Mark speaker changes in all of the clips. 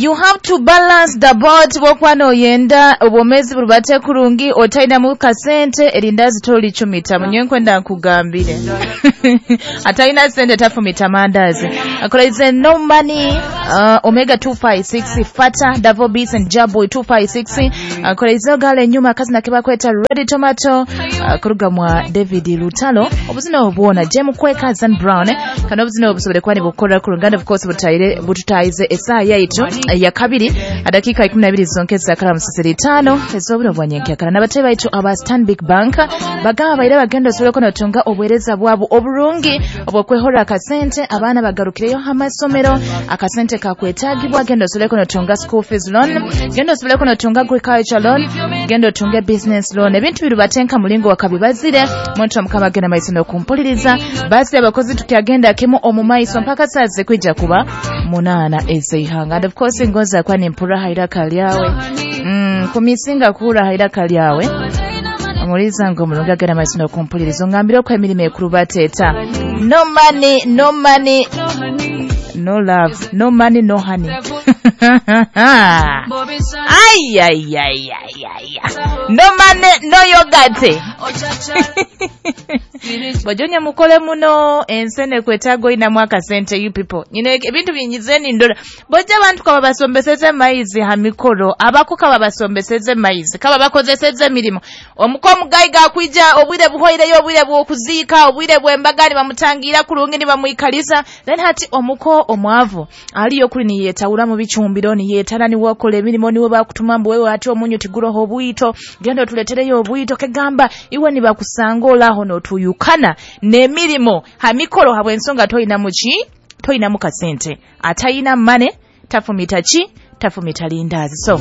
Speaker 1: You have to balance the boat bwokuba noyenda obwomezi burubate kurungi otainamu kasente erindazi tolicumita munye nkwenda nkugambire. Atalina sente tafumita mandazi. Akolaize no money, Omega 256 Fata Davo Beats and Jaboy 256. Akolaize gale nyuma kazi nakeba kweta Ready Tomato, kuruga mwa David Lutalo obuzina obwona Jem Kweka Zan Brown, kana obuzina obusobole kwani bukora kurunganda of course butaire bututaize esaa yaitu ya kabiri adakika 12 zonkeza kala musisiri 5 ezoburo bwanyenke kala nabatebe baitu aba Stanbic Bank bagaba baire bagenda osobole konotunga obwereza bwabo oburungi obwokwehora akasente abaana bagarukireyo amasomero akasente kakwetagibwa genda osobole konotunga school fees loan, genda osobole konotunga agriculture loan, genda otunge business loan. Ebintu birubatenka mulingo wakabibazire muntu omukama genda maiso n'okumpuliriza basi abakozi tukyagenda kimu omumaiso mpaka saa kwija kuba 8 ezeihanga. And of course ngoza kwa nimpura haira kalyawe kumisinga kuhura haira kalyawe omuliza ngo mulunga genda maiso n'okumpuliriza ongambire okwo emirimo ekurubateeta. No money, no money, no love, no money, no honey. Ay ay ay ay ay. No money, no yogurt. Bajonya mukole muno ensene kwetago ina mwaka sente you people. You know ebintu binyizeni ndora. Boja abantu kaba basombeseze maizi ha mikoro, abako kaba basombeseze maizi, kaba bakozeseze mirimo. Omuko mugayiga kwija obwire buhoireyo obwire bw'okuziika, obwire bw'embagani bamutangira kurungi ni bamuikalisa. Then hati omuko omwavu aliyo kuli ni yetawula mu bichumbiro ni yetala ni wakola emirimo niwe bakutuma mbu wewe ati omunyu tiguroho obwito genda tuletereyo obwito kegamba iwe ni bakusanga olaho notuyukana n'emirimo ha mikoro habw'ensonga toyina muki toyina mu kasente atayina mane tafumita ki tafumita lindazi. So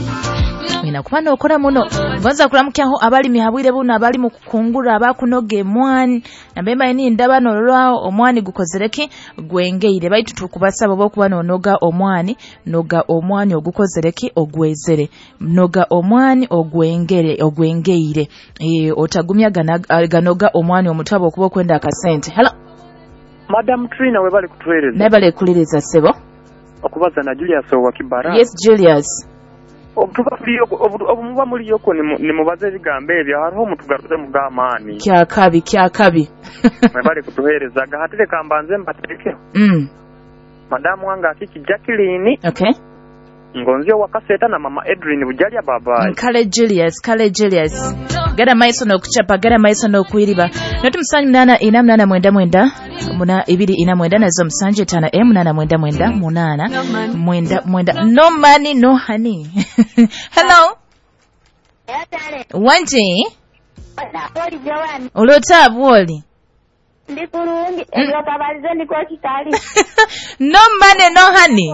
Speaker 1: ina kuba nokora muno ngonza kuramukyaho abalimi habwire buno abali mu kukungura abakunoga emwani nambemba ni ndaba norolwaho omwani gukozereki gwengeire baitu tukubasaba bokuba nonoga omwani noga omwani ogukozereki ogwezere noga omwani ogwengere ogwengeire otagumya ganoga omwani omutabo okuba okwenda akasente. Hello
Speaker 2: Madam Trina, webale kutuwereza.
Speaker 1: Nebale kuliriza sebo.
Speaker 2: Okubaza na Julius wa Kibara.
Speaker 1: Yes Julius.
Speaker 2: Obutuba muliyoko nimubaze ebigambo ebyo hariho mutugaruze mugamaani.
Speaker 1: Kyakabi kyakabi.
Speaker 2: Mwebale kutuheereza gahatire kambanze mbatekeho. Madamu wange akiki Jacqueline.
Speaker 1: Okay.
Speaker 2: Ngonzio wakaseta na mama Edwin Bujalya babayi.
Speaker 1: Kale Julius, kale Julius. Gada maiso no kuchapa, gada maiso no kuiriba. Notu msanyi 8 4 8 9 9 2 4 9 nazo msanje 5 8 9 9 8 9 9. No money, no honey. Hello. Wanji. Olota bwoli.
Speaker 3: Ndi kulungi ebyotabalize ndiko kitali.
Speaker 1: No money, no honey.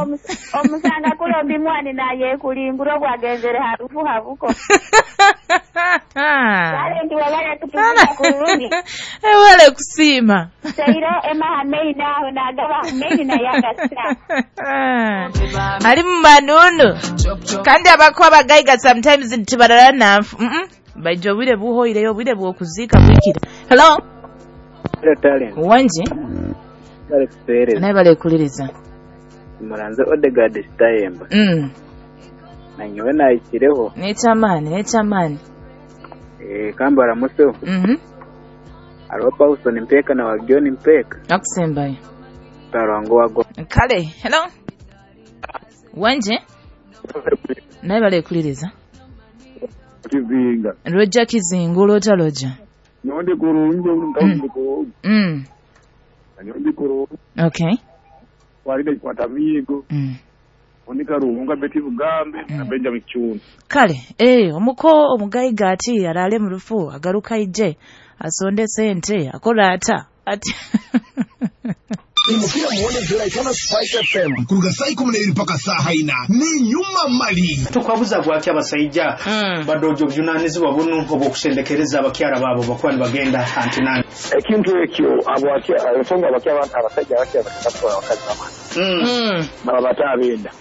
Speaker 3: Omusanga kulombi mwani naye kulinguro bwagenzere harufu habuko. Kale ndi wabala kutukuza kulungi.
Speaker 1: Wale kusima.
Speaker 3: Sairo ema hamei naho nagaba hamei na yagasa.
Speaker 1: Ali manunu. Kandi abako abagaiga sometimes ntibarara nafu. Baijo bwire buhoireyo bwire bwokuzika bwikira. Hello. Wanji. Naye bale kuliriza.
Speaker 4: Muranze Odegaard Stayemba. Na nyowe nayikireho.
Speaker 1: Nechamani, nechamani.
Speaker 4: Kambara muso. Aro Paulson Mpeka na Wagioni Mpeka.
Speaker 1: Nakusembayo.
Speaker 4: Tarango wago.
Speaker 1: Kale, hello. Wanje. Naye bale kuliriza.
Speaker 5: Kizinga.
Speaker 1: Roja Kizinga, Roja Roja.
Speaker 5: Nyondi kurungi ndio ko. Nyondi kurungi.
Speaker 1: Okay.
Speaker 5: Walide kwata migo. Onika ruhunga beti bugambe na Benjamin Chun.
Speaker 1: Kale, omuko omugayiga ati alale mu rufu agaruka ije asonde sente akola ata ati
Speaker 6: Imukira muone Juraitana Spice FM kuruga saa 12 mpaka saa haina ni nyuma mali
Speaker 7: tukwabuza gwaki abasajja badojo obuvunanyizibwa buno obw'okusendekereza abakyala baabo bakuba nibagenda antinani
Speaker 5: ekintu ekyo ensonga abasajja abakyala bakatwala abakazi bamwe baba batabenda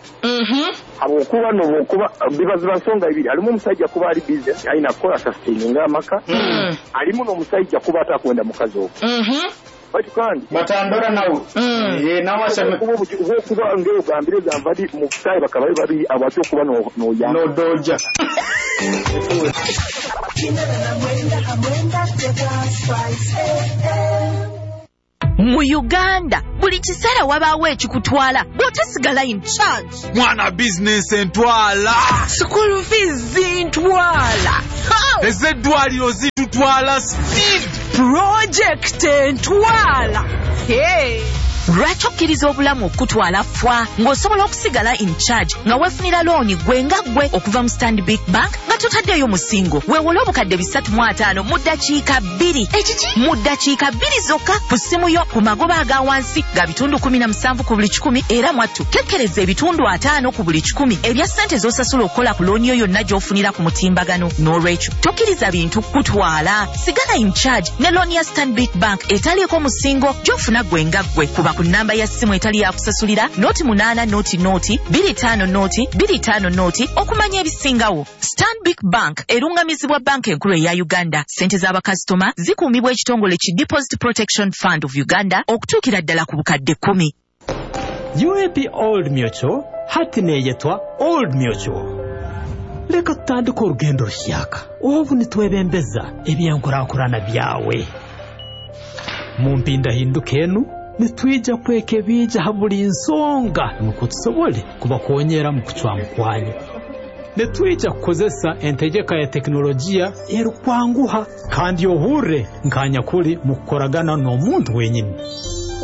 Speaker 5: habwokuba nobwokuba bibaziba nsonga ibiri alimu omusajja kuba ali busy alina kukola sustaininga amaka alimu n'omusajja kuba atakwenda mukazi ogwo. Baitu kandi
Speaker 7: Batandora nawe. Nawe aseme
Speaker 5: kuba ngeo gambire gambadi mu butayi bakaba bari abacho kuba no no ya
Speaker 7: no doja.
Speaker 8: Mu Uganda buli kiseera wabaawo ekikutwala bw'otasigala in charge.
Speaker 9: Mwana bizinensi entwala,
Speaker 8: School fees zintwala,
Speaker 9: ez'eddwaliro zitutwala speed,
Speaker 8: project entwala. Hey. Lwaki okkiriza obulamu okukutwala fwa ng'osobola okusigala in charge nga weefunira looni gwe nga ggwe okuva mu Stanbic Bank nga totaddeeyo musingo? Weewole 350,000 mu ddakiika 2. Ekiki? Mu ddakiika 2 zokka ku ssimu yo ku magoba aga wansi ga 17% ku buli 100, era mwattu kekkereza 50% ku buli 100 ebya ssente z'osasula okukola ku looni yo yonna gy'ofunira ku mutimbagano. N'olwekyo tokkiriza bintu kukutwala, sigala in charge ne looni ya Stanbic Bank etaliiko musingo gy'ofuna gwe nga ggwe. Kuba ku namba ya ssimu etali yakusasulira 08 00 25 0 25 0 okumanya ebisingawo. Stanbic Bank erungamizibwa banka enkulu eya Uganda. Ssente z'abakasitoma zikuumibwa ekitongole ki Deposit Protection Fund of Uganda okutuukira ddala ku 10,000.
Speaker 10: UAP Old Mutual hati neeyetwa Old Mutual. Leka tutandike orugendo ruhyaka obu nitwebembeza ebyenkurakurana byawe. Mu mpindahinduka enu nitwija kwekebija ha buli nsonga nukwo tusobole kubakonyera mu kucwamu kwanyu. Nitwija kukozesa entegeka ya tekinologiya erukwanguha kandi ohurre nkanyakuli mu kukoragana n'omuntu wenyini.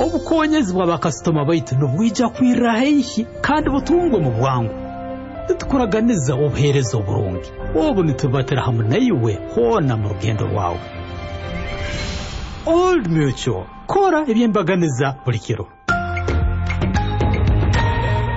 Speaker 10: Obukonyezi bw'abakasitoma baitu nibwija kwirra haihi kandi butungwe mu bwangu. Nitukuraganiza obuheereza oburungi obu nitubatira hamu naiwe hoona mu rugendo rwawe. Old Mutual kora ebyembaganiza buli kiro.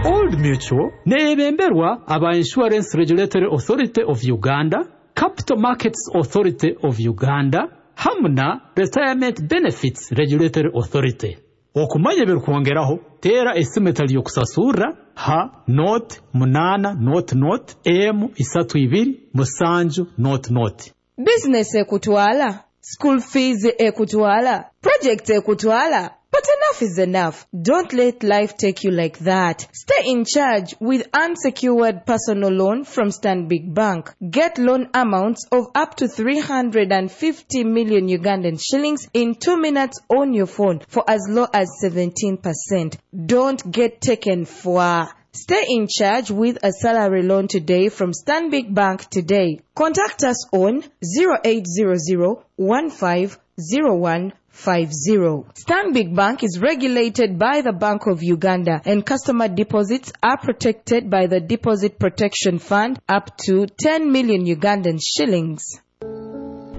Speaker 10: Old Mutual neebemberwa aba Insurance Regulatory Authority of Uganda, Capital Markets Authority of Uganda hamu na Retirement Benefits Regulatory Authority. Okumanya ebirikwongeraho teera esimu etali y'okusasurra ha 0 8 0 0 M 32 7 0 0.
Speaker 11: Bizinesi ekutwala, school fees ekutwala, project ekutwala. But enough is enough. Don't let life take you like that. Stay in charge with unsecured personal loan from Stanbic Bank. Get loan amounts of up to 350 million Ugandan shillings in 2 minutes on your phone for as low as 17%. Don't get taken for. Stay in charge with a salary loan today from Stanbic Bank today. Contact us on 0800 1501 50. Stanbic Bank is regulated by the Bank of Uganda and customer deposits are protected by the Deposit Protection Fund up to 10 million Ugandan shillings.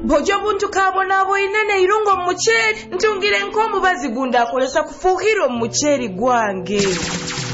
Speaker 11: Bw'ojja obuntu kabonaabwine neirungo mu muceeri ntungire nk'omubazi gundi akolesa kufuuhira omu muceeri gwange.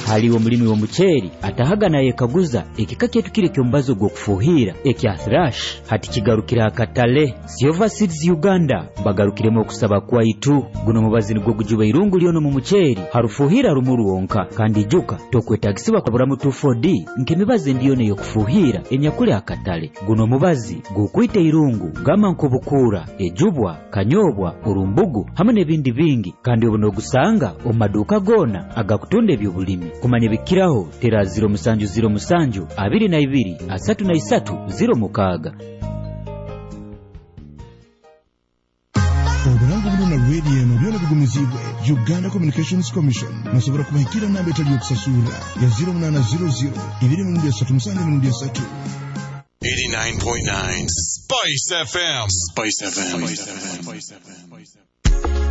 Speaker 12: Haliwo omulimi w'omuceeri atahaga nayekaguza ekika kyaitu kiri eky'omubazi ogw'okufuuhira ekya Thrash hati kigarukire akatale. Silver Seeds Uganda bagarukiremu okusaba kwaitu. Guno omubazi nigwo gujuba irungu lyono mu muceeri harufuuhira rumu rwonka, kandi ijuka tokwetagisibwa kaburamu 2,4-D nk'emibazi endi yona ey'okufuuhira enyakuli akatale. Guno omubazi gukwita irungu gama nk'obukuura, ejubwa, kanyobwa, orumbugu hamwe n'ebindi bingi, kandi obu n'ogusanga omu maduuka goona agakutunda eby'obulimi. Kumanya ebikiraho tera 0707 22 33 06.
Speaker 6: Obulango buno na radio eno byona bigumizibwe Uganda Communications Commission. Nasobora kubahikira namba etali yokusasurra ya 0800 237 3.
Speaker 13: 89.9 Spice FM. Spice FM. Spice FM.